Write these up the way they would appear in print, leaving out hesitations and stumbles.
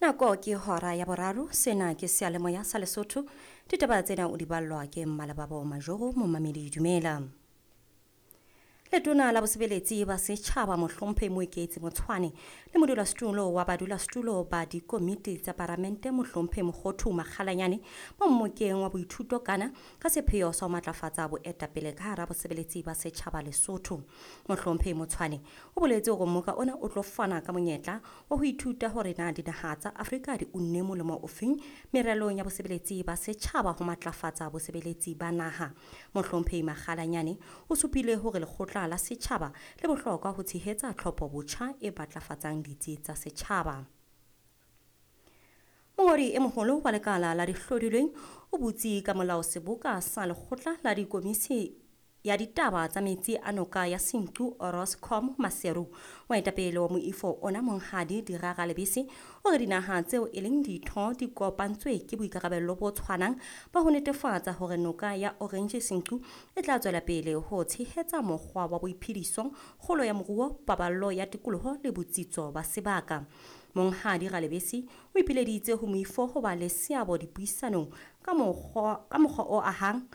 Nako ke hora ya boraro, sena ke seyalemoya sa Lesotho. Ditaba tsena o di ballwa ke Mmalebabo Majoro, momamedi dumela. Letona la bosebeletsi ba setjhaba Mohlomphehi Moeketsi Motshwane le modulasetulo wa badulasetulo ba dikomiti tsa paramente Mohlomphehi Mokgothu Makgalanyane ba mmokeng wa boithuto kana ka sepheo sa ho matlafatsa boetapele ka hara bosebeletsi ba setjhaba Lesotho. Mohlomphehi Motshwane o boletse hore mmoka ona o tlo fana ka monyetla wa ho ithuta hore na dinaha tsa Afrika di unne molemo ofeng meralong ya bosebeletsi ba setjhaba ho matlafatsa bosebeletsi ba naha. Mohlomphehi Makgalanyane o supile hore lekgotla la setjhaba le bohlokwa ho tshehetsa tlhopho botjha e matlafatsang ditsi tsa setjhaba. Mongodi e moholo wa lekala la dihlodilweng o butse ka molao seboka sa lekgotla la dikomisi ya ditaba tsa metsi a noka ya Senqu Oroscom Maseru. Moetapele wa moifo ona Monghadi Dira Lebese o re dinaha tseo e leng ditho di kopantswe ke boikarabello bo tshwanang ba ho netefatsa hore noka ya Orange Senqu e tla tswela pele ho tshehetsa mokgwa wa boiphediso, kgolo ya moruo, paballo ya tikoloho le botsitso ba sebaka. Monghadi Ralebese o ipileditse ho moifo ho ba le seabo dipuisanong ka mokgwa o ahang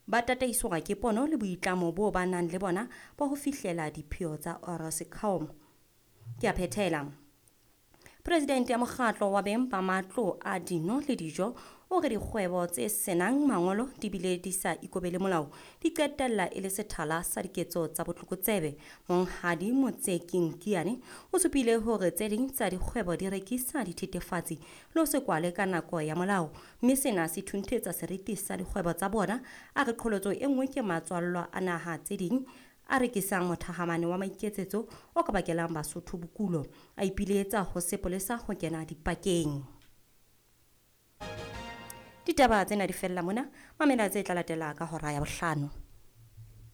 ba tataiswa ke pono le boitlamo bo ba nang le bona ba ho fihlela dipheo tsa Oroscom. Ke a phethela. Presidente ya mokgatlo wa beng ba matlo a dino le dijo o re dikgwebo tse senang mangolo di bile di sa ikobele molao di qetella e le sethala sa diketso tsa botlokotsebe. Monghadi Motseking Kiane o supile hore tse ding tsa dikgwebo di rekisa dithethefatsi le ho se kwale ka nako ya molao, mme sena se thunthetsa seriti sa dikgwebo tsa bona. A re qholotso e nngwe ke matswallwa a naha tse ding a rekisang mothahamane wa maiketsetso o ka bakelang Basotho bokulo. A ipiletsa ho sepolesa ho kena dipakeng. Ditaba tsena di fella mona, mamela tse tla latela ka hora ya bohlano.